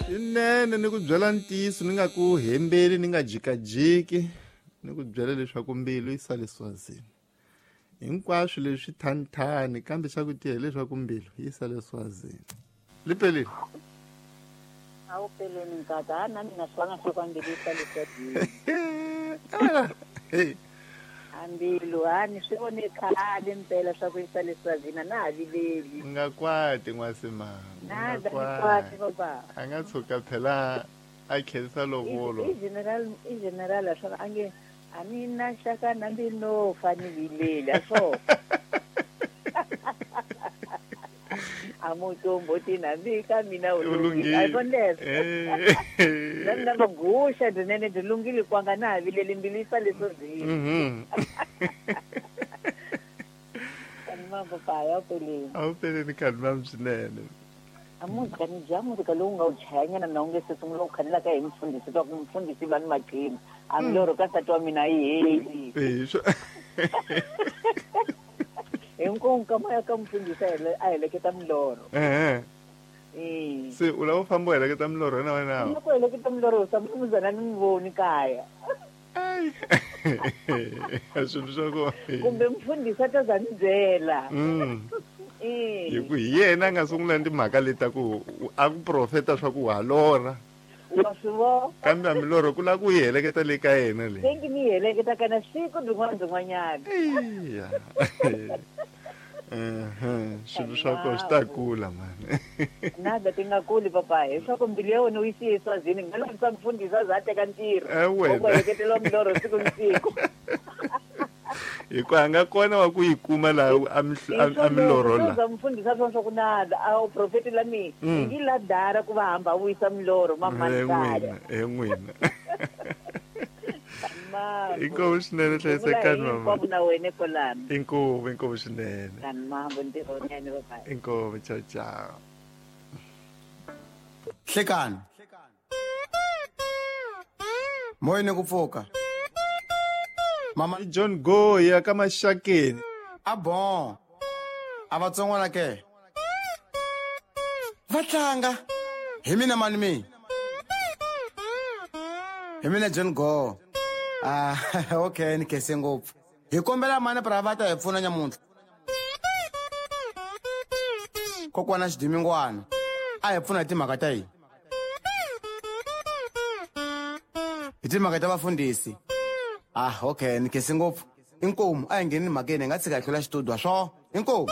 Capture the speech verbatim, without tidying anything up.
Swinene ni ku byela ntiyiso ni nga ku hembeli ni nga jikajiki ni ku byela leswaku mbilu yi sale Swazini. Hinkwaswo leswi thanthani kambe xa ku tiya hileswaku mbilu yi sale Swazini. Lipelile. A wu peleni nkata a na mina swi nga swa ku mbilu yi sale Swazini. Hey. Ambilu a ni swi vone khale mpela swa ku yi sale Swazini na ha vileli. U nga kwati n'wasimanga. Na ni kwati baba. A nga tshuka phela a khensa lovolo. I general i general swa a nge a ni na xaka na mbilu fa ni vileli a swo. A mutombo tina mbi ka mina u lunghile. A vona leswo. Na mina va guxa dyinene dyi lunghile kwanga na ha vileli mbilu yi sale Swazini. Mhm. Kanima papa ya peleni. A wu peleni kanima swinene. A muzika ni dya muzika lowu nga wu chayanyana na wu nge se sungula ku khanela ka hi mufundhisi twa ku mufundhisi va ni maqhina. A milorho ka nsati wa mina yi heli. Eh swo. Hinkwako ka moya ka mufundhisi a heleketa milorho. Eh. Eh. Se u lava u famba u heleketa milorho na wena? Ni ku heleketa milorho sa muzana ni n'wi voni kaya. Ai. Swilo swa kona. Kumbe mufundhisi a ta za ni byela. Mm. Eh. Hi ku hi yena a nga sungula timhaka leti ta ku a ku profeta swa ku wa lorha. Wa swi vona. Kambe a milorho ku lava ku yi heleketa le ka yena le. Se ngi ni yi heleketa kana siku byin'wana byin'wanyana. Eya. Mhm. Swilo swa kona swi ta kula mani. Nada ti nga kuli papa leswaku mbilu ya wena u yi siye Swazini nga lovisa mufundhisi a za a teka ntirho. Eh wena. Ku heleketeliwa milorho siku ni siku. Hi ku a nga kona wa ku yi kuma laha a milorho la. Za mufundhisi a swa swa ku nada a u profeti la mina. Mm. Yi la dara ku va hamba vuyisa milorho mamani Eh kaya. n'wina, eh n'wina. Mama. Inkomu swinene hlayisekani mama. Hinkwavo na wena kwalano. Inkomu, inkomu swinene. Kani mambo ntirho wunene bye. Inkomu, ciao ciao. Hlekani. Moyeni ku pfuka. Mama I John Goya ka Maxakeni. A bon. A vatsongwana ke. Va tlanga. Hi mina mani mi. Hi mina John Go. Ah, okay, ni khense ngopfu. Hi kombela mani pra va ta hi pfuna nyamuntlha. Kokwana Xidimingwana a hi pfuna hi timhaka ta yini? Hi timhaka ta vafundhisi. Ah, okay, ni khense ngopfu. Inkomu a hi ngheni mhakeni hi nga tshika hi hlula xitudio swo. Inkomu.